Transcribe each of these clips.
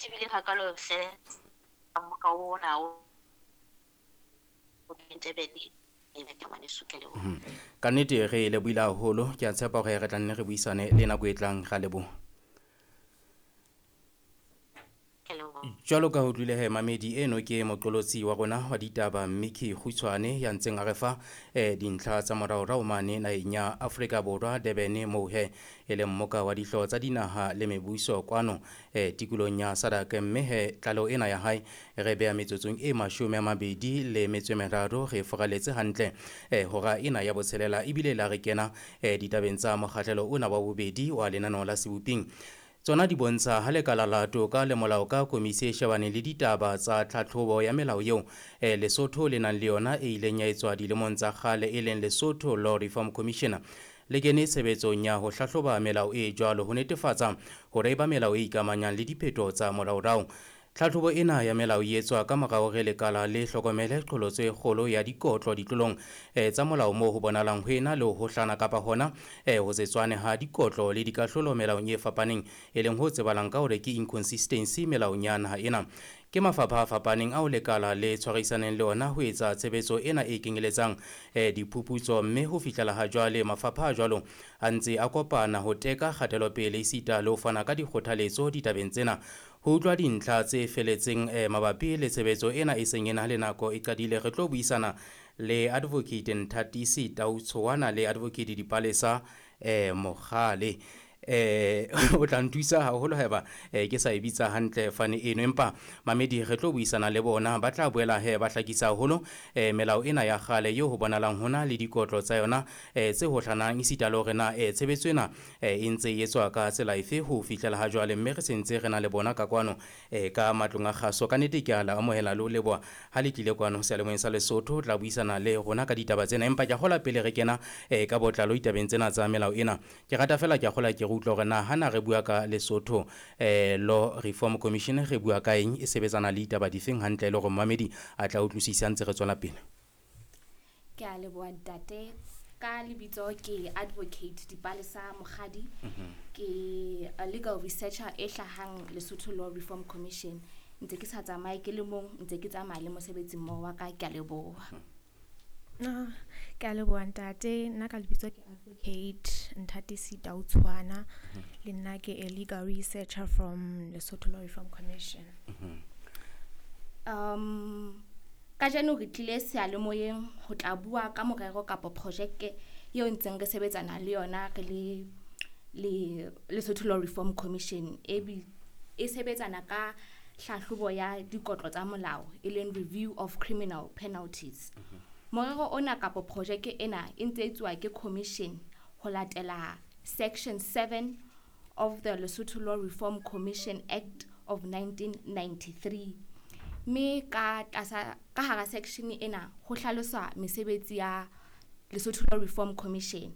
Tebileng hakalo hle mmoka ona o Durban ke ngwaneso, ke a leboha. Ka nnete re lebohile haholo, ke a tshepa hore re tla nne re buisane le nako e tlang. Ra leboha. Ke a leboha. Jwalo ka ho utlwile he mamedi, eno ke moqolotsi wa rona wa ditaba Mickey Kgutshwane ya ntseng a re fa dintlha tsa moraorao mane naheng ya Afrika Borwa Durban, moo he e leng mmoka wa dihlooho tsa dinaha le mebuso kwano tikolong ya SADC. Mme he tlaleho ena ya hae re beha metsotsong e 23, re foraletse hantle hora ena ya botshelela, ebile la re kena ditabeng tsa mokgahlelo ona wa bobedi wa lenaneo la Seboping. Tsona di bontsha ha lekala la toka le molao ka komisi e shebaneng le ditaba tsa tlhatlhobo ya melao eo Lesotho le nang le yona e ileng ya etswa dilemong tsa kgale, e leng Lesotho Law Reform Commission, le kene tshebetsong ya ho hlahloba melao e jwalo ho netefatsa hore e ba melao e ikamanyang le diphetoho tsa moraorao. Tlhatlhobo ena ya melao e etswa ka mora hore lekala le hlokomele qholotso e kgolo ya dikotlo ditlolong tsa molao, moo ho bonahalang ho ena le ho hohlana kapa hona ho se tswane ha dikotlo le dikahlolo melaong e fapaneng, e leng ho tsebahalang ka hore ke inconsistency melaong ya naha ena. Ke mafapha a fapaneng ao lekala le tshwarisaneng le ona ho etsa tshebetso ena e kenyeletsang diphuputso, mme ho fihlela ha jwale mafapha a jwalo a ntse a kopana ho teka kgatelopele esita le ho fana ka dikgothaletso ditabeng tsena. Ho utlwa dintlha tse feletseng mabapi le tshebetso ena e seng e na le nako e qadile, re tlo buisana le Advocate Nthatisi Tautshoana le Advocate Dipalesa Mogale. O tla nthusa haholo haeba ke sa e bitsa hantle fane eno, empa mamedi re tlo buisana le bona, ba tla boela he ba hlakisa haholo melao ena ya kgale eo ho bonahalang hona le dikotlo tsa yona tse hohlanang, esita le hore na tshebetso ena e ntse e etswa ka tsela efe ho fihlela ha jwale. Mme re sentse re na le bona ka kwano ka matlong a kgaso. Ka nnete ke a le amohela le ho leboha ha le tlile kwano seyalemoyeng sa Lesotho tla buisana le rona ka ditaba tsena. Empa ke a kgolwa pele re kena ka botlalo ditabeng tsena tsa melao ena, ke rata fela ke a kgolwa ke re utlwa hore na hana re bua ka Lesotho Law Reform Commission re bua ka eng, e sebetsana le ditaba difeng hantle, e le hore momamedi a tla utlwisisa ntse re tswela pele. Ke a leboha ntate. Ka lebitso ke Advocate Dipalesa Mokgadi. Ke a legal researcher e hlahang Lesotho Law Reform Commission. Ntse ke sa tsamaye ke le mong, ntse ke tsamaya le mosebetsi mmoho wa ka. Ke a leboha. Ke a leboha ntate. Nna ka lebitso ke Advocate Nthatisi Tautshwana. Le nna ke a legal researcher from Lesotho Law Reform Commission. Kajeno re tlile seyalemoyeng ho tla bua ka morero kapa projeke eo ntseng re sebetsana le yona re le le Lesotho Law Reform Commission, e e sebetsana ka hlahlobo ya dikotlo tsa molao, e leng review of criminal penalties. Morero ona kapa projeke ena e ntse etsuwa ke commission ho latela section 7 of the Lesotho Law Reform Commission Act of 1993, mme ka tlasa ka hara section ena ho hlaloswa mesebetsi ya Lesotho Law Reform Commission.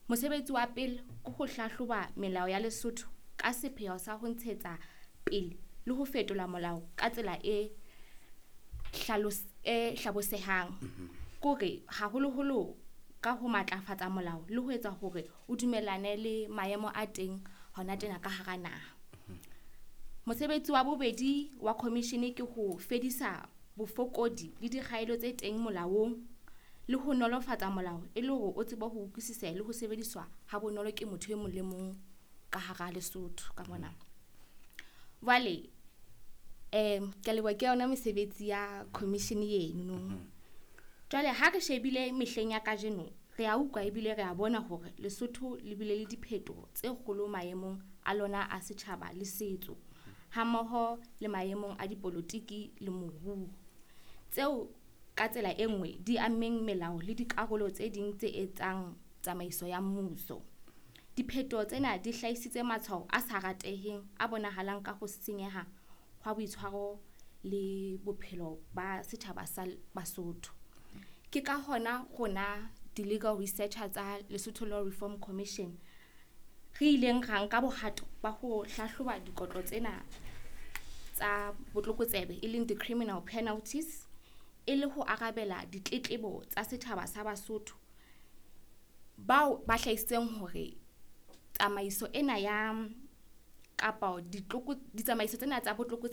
Mosebetsi wa pele ke ho hlahloba melao ya Lesotho ka sepheo sa ho ntshetsa pele le ho fetola molao ka tsela e e hlabosehang, kore haholoholo ka ho matlafatsa molao le ho etsa hore o dumellane le maemo a teng hona tjena ka hara naha. Mosebetsi wa bobedi wa commission ke ho fedisa bofokodi le dikgaelo tse teng molaong le ho nolofatsa molao e le hore o tsebe ho utlwisisa le ho sebediswa ha bonolo ke motho e mong le mong ka hara Lesotho ka mona. Jwale ke a leboha, ke yona mesebetsi ya commission eno. Jwale ha re shebile mehleng ya kajeno, re a utlwa ebile re a bona hore Lesotho le bile le diphetoho tse kgolo maemong a lona a setjhaba le setso, hammoho le maemong a dipolotiki le moruo, tseo ka tsela e nngwe di ammeng melao le dikarolo tse ding tse etsang tsamaiso ya mmuso. Diphetoho tsena di hlahisitse matshwao a sa rateheng a bonahalang ka ho senyeha hwa boitshwaro le bophelo ba setjhaba sa Basotho. Ke ka hona rona di-legal researcher tsa Lesotho Law Reform Commission re ileng ra nka bohato ba ho hlahloba dikotlo tsena tsa botlokotsebe, e leng di-criminal penalties, e le ho arabela ditletlebo tsa setjhaba sa Basotho bao ba hlahisitseng hore tsamaiso ena ya Kapa ditsamaiso tsena tsa botlokotsebe.